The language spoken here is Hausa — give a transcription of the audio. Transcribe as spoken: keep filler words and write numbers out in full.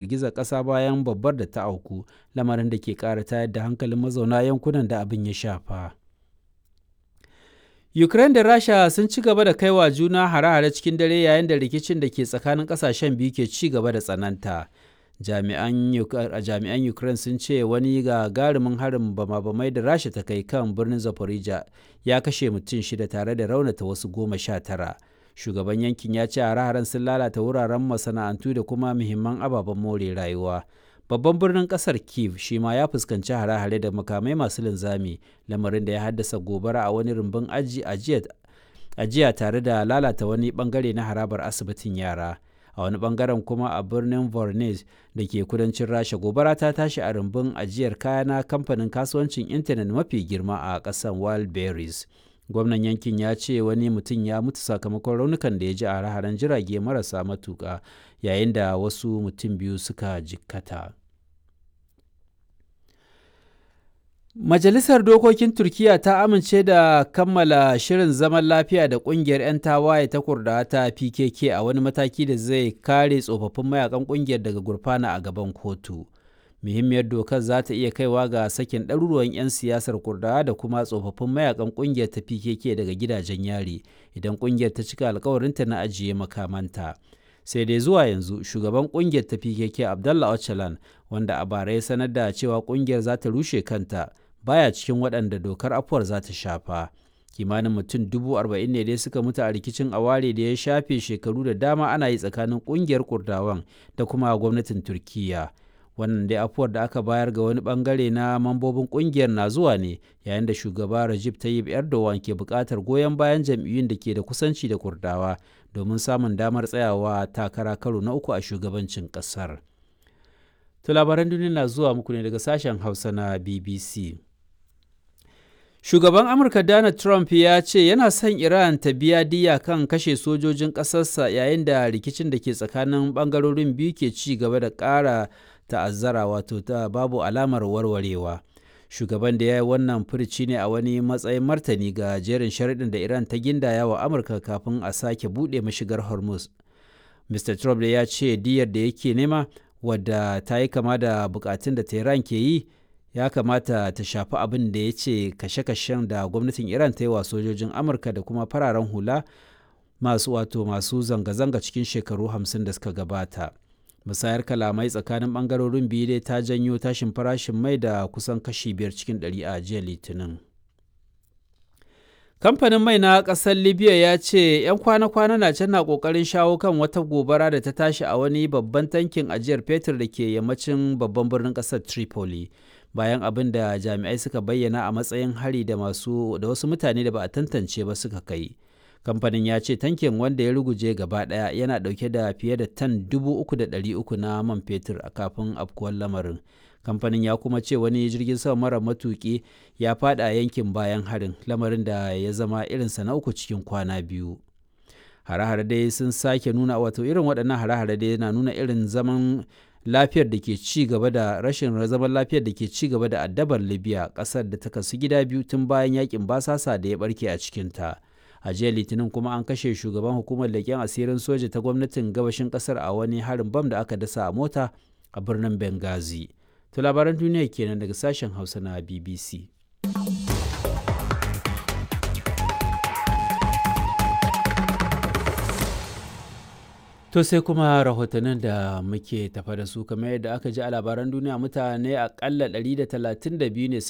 Girgizar ƙasa bayan babbar da ta auku, lamarin da ke ƙara tayar da hankalin mazauna yankunan da abin ya shafa. Ukraine da Rasha sun ci gaba da kaiwa juna hare-hare cikin dare yayin da rikicin da ke tsakanin ƙasashen biyu ke ci gaba da tsananta. Jami'an Ukraine sun ce wani gagarumin harin bama-bamai da Rasha ta kai kan birnin Zaporizhzhia ya kashe mutum shida tare da raunata wasu goma sha tara. Shugaban yankin ya ce hare-haren sun lalata wuraren masana'antu da kuma muhimman ababen more rayuwa. Babban birnin kasar Kyiv shi ma ya fuskanci hare-hare da makamai masu linzami, lamarin da ya haddasa gobara a wani rumbun ajiya tare da lalata wani bangare na harabar asibitin yara. A wani bangaren kuma a birnin Voronezh da ke kudancin Rasha, gobara ta tashi a rumbun ajiyar kaya na kamfanin kasuwancin intanet mafi girma a ƙasar Wildberries. Gwamnan yankin ya ce wani mutum ya mutu sakamakon raunukan da ya ji a hare-haren jirage marasa matuƙa yayin da wasu mutum biyu suka jikkata. Majalisar Dokokin Turkiyya ta amince da kammala shirin zaman lafiya da ƙungiyar 'yan tawaye ta Kurdawa ta P K K a wani mataki da zai kare tsofaffin mayakan ƙungiyar daga gurfana a gaban kotu. Muhimmiyar dokar za ta iya kaiwa ga sakin ɗaruruwan 'yan siyasar Kurdawa da kuma tsofaffin mayakan ƙungiyar ta P K K daga gidajen yari idan ƙungiyar ta cika alkawarinta na ajiye makamanta. Sai dai zuwa yanzu shugaban ƙungiyar ta P K K Abdullah Öcalan, wanda a bara ya sanar da cewa ƙungiyar za ta rushe kanta, baya cikin waɗanda dokar afuwar za ta shafa. Kimanin mutum dubu arba'in ne dai suka mutu a rikicin aware da ya shafe shekaru da dama ana yi tsakanin ƙungiyar Kurdawan da kuma gwamnatin Turkiyya. Wannan dai afuwar da aka bayar ga wani bangare na mambobin kungiyar na zuwa ne yayin da shugaba Recep Tayyip Erdogan ke buƙatar goyon bayan jam'iyyun da ke da kusanci da Kurdawa domin samun damar tsayawa takara karo na uku a shugabancin ƙasar. To labaran duniya na zuwa muku ne daga sashen Hausa na B B C. Shugaban Amurka Donald Trump ya ce yana son Iran ta biya diyya kan kashe sojojin ƙasarsa yayin da rikicin da ke tsakanin ɓangarorin biyu ke ci gaba da ƙara ta'azzara, wato ta babu alamar warwarewa. Shugaban da ya yi wannan furici ne a wani matsayin martani ga jerin sharaɗin da Iran ta gindaya wa Amurka kafin a sake buɗe mashigar Hormuz. Mister Trump da ya ce diyyar da yake nema, wadda ta yi kama da bukatun da Tehran ke yi, ya kamata ta shafi abin da ya ce kashe-kashen da gwamnatin Iran ta yi wa sojojin Amurka da kuma fararen hula masu wato masu zanga-zanga cikin shekaru hamsin da suka gabata. Musayar kalamai tsakanin bangarorin biyu dai ta janyo tashin farashin mai da kusan kashi biyar cikin ɗari a jiya Litinin. Kamfanin mai na ƙasar Libya ya ce 'yan kwana-kwana na can na ƙoƙarin shawo kan wata gobara da ta tashi a wani babban tankin ajiyar fetur da ke yammacin babban birnin ƙasar Tripoli, bayan abin da jami'ai suka bayyana a matsayin hari da masu da wasu mutane da ba a tantance ba suka kai. Kamfanin ya ce tankin wanda ya ruguje gaba ɗaya yana ɗauke da fiye da tan dubu uku da ɗari uku na man fetur a kafin afkuwar lamarin. Kamfanin ya kuma ce wani jirgin sama mara matuƙi ya faɗa yankin bayan harin, lamarin da ya zama irinsa na uku cikin kwana biyu. Hare-hare dai sun sake nuna wato irin waɗannan hare-hare dai na nuna irin zaman lafiyar da ke ci gaba da rashin zaman lafiyar da ke ci gaba da addabar Libya, ƙasar da ta kasu gida biyu tun bayan yakin basasa da ya barke a cikinta. A jiya Litinin kuma an kashe shugaban hukumar leƙen asirin soja ta gwamnatin gabashin ƙasar a wani harin bam da aka dasa a mota a birnin Benghazi. To labaran duniya kenan daga sashen Hausa na B B C. To sai kuma rahotannin da muke tafa da su. Kamar yadda aka ji a labaran duniya, mutane akalla ɗari da talatin da biyu ne suka